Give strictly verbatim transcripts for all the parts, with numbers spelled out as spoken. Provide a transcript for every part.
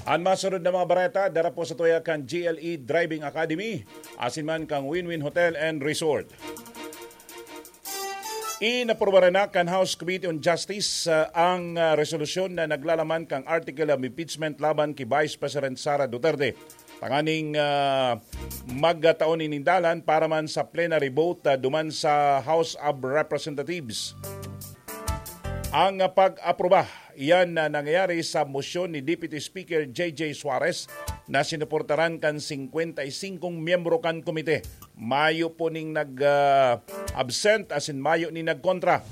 An masunod na mga bareta, dara po sa tuya kan G L E Driving Academy, asin man kan Win-Win Hotel and Resort. Inaprubaran na kan House Committee on Justice, ah, ang, ah, resolusyon na naglalaman kan article of impeachment laban ki Vice President Sara Duterte, tanganing, ah, magtao nin dalan para man sa plenary vote, ah, duman sa House of Representatives. Ang, ah, pag-aproba, iyan na nangyayari sa mosyon ni Deputy Speaker J J Suarez na sinuportaran kan singkwenta y singkong miyembro kan komite. Mayo po ning nag, ah, absent, asin mayo ning nagkontra.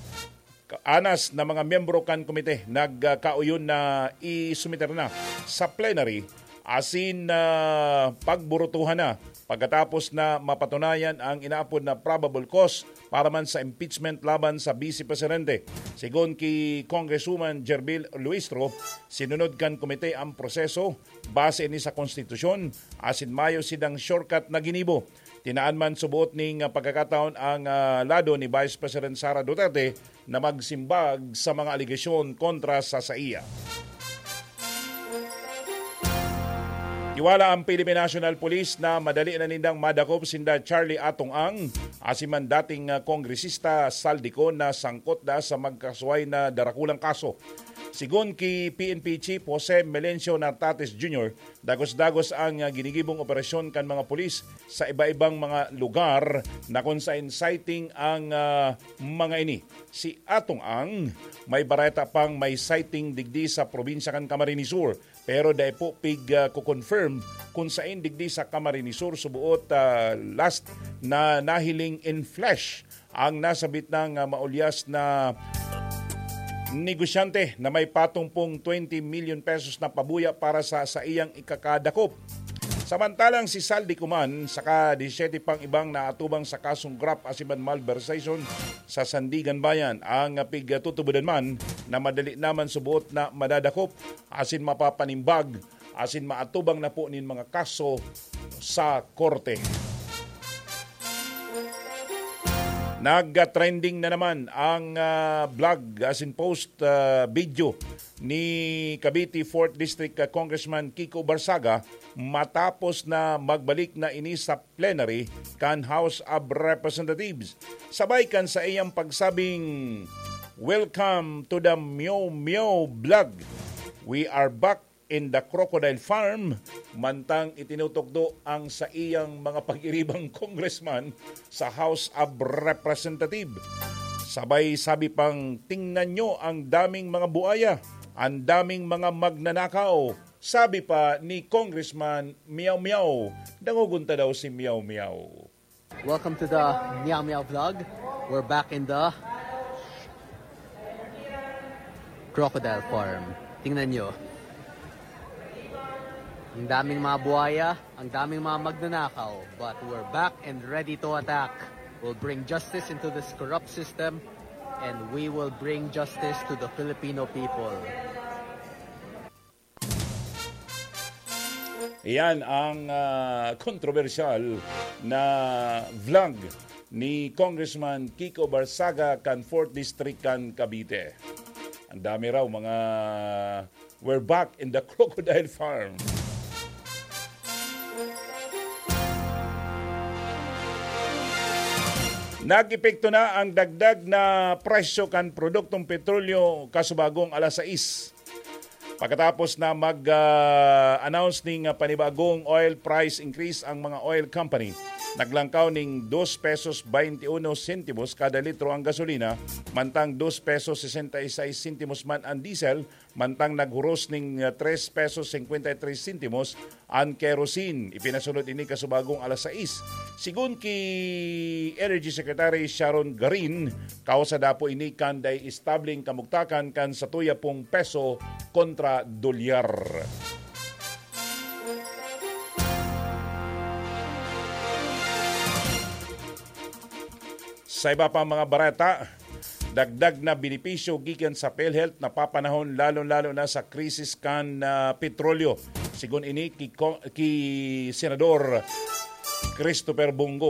Anas na mga miyembro kan komite nagkauyon na isumiter na sa plenary asin, ah, pagburutuhan na pagkatapos na mapatunayan ang inaapod na probable cause para man sa impeachment laban sa Vice Presidente. Sigon ki Congresswoman Gerbil Luistro, sinunod kan komite ang proseso base ini sa konstitusyon asin mayo sidang shortcut na ginibo. Tinaan man subot ning pagkakataon ang, ah, lado ni Vice President Sara Duterte na magsimbag sa mga alegasyon kontra sa saiya. Tiwala ang Philippine National Police na madali na nindang madakop sinda Charlie Atong Ang, asin man dating, ah, kongresista Saldico na sangkot da sa magkasuway na darakulang kaso. Sigon ki P N P Chief Jose Melencio Nartates Junior, dagos-dagos ang, ah, ginigibong operasyon kan mga pulis sa iba-ibang mga lugar na kung saen sighting ang, ah, mga ini. Si Atong Ang may bareta pang may sighting digdi sa probinsya kan Camarines Sur, pero dai po pig, ah, ko-confirm kung saen digdi sa Camarines Sur suboot, ah, last na nahiling in flesh ang nasabit nang, ah, maulyas na negosyante na may patong pong twenty million pesos na pabuya para sa saiyang ikakadakop. Samantalang si Saldi Kuman saka disisete pang ibang naatubang sa kasong graft asin man malversation sa Sandigan Bayan ang pigtutubodan man na madali naman subot na madadakop asin mapapanimbag asin maatubang na po nin mga kaso sa korte. Nag-trending na naman ang, ah, vlog asin post, ah, video ni Cavite fourth District, ah, Congressman Kiko Barsaga matapos na magbalik na ini sa plenary kan House of Representatives. Sabay kan sa iyang pagsabing, "Welcome to the Meow Meow Vlog. We are back in the Crocodile Farm," mantang itinutukdo ang saiyang mga pag-iribang congressman sa House of Representative. Sabay sabi pang, "Tingnan nyo ang daming mga buaya, ang daming mga magnanakaw." Sabi pa ni Congressman Meow Meow, nangugunta daw si Meow Meow. Welcome to the Meow Meow Vlog. We're back in the Crocodile Farm. Tingnan nyo. Ang daming mga buhaya, ang daming mga magnanakaw. But we're back and ready to attack. We'll bring justice into this corrupt system, and we will bring justice to the Filipino people. Iyan ang, ah, kontrobersyal na vlog ni Congressman Kiko Barsaga kan fourth District kan Cavite. Ang dami raw mga, "We're back in the crocodile farm." Nag-epekto na ang dagdag na presyo kan produktong petrolyo kasubagong alas sais. Pagkatapos na mag, ah, announce ning, ah, panibagong oil price increase ang mga oil company, naglangkaw ning dos pesos baynte uno sentimos kada litro ang gasolina, mantang dos pesos sesenta y seis sentimos man ang diesel, mantang naghuros ning, ah, tres pesos cincuenta y tres sentimos an kerosene. Ipinasunod ini kasubagong alas sais. Sigun ki Energy Secretary Sharon Garin, kausa dapo ini kan dai establing kamugtakan kan satuya pong peso kontra dolyar. Sa iba pang mga bareta, dagdag na benepisyo gikan sa PhilHealth napapanahon, lalo-lalo na sa krisis kan, ah, petrolyo. Sigun ini ki Ko-, ki Senador Christopher Bong Go.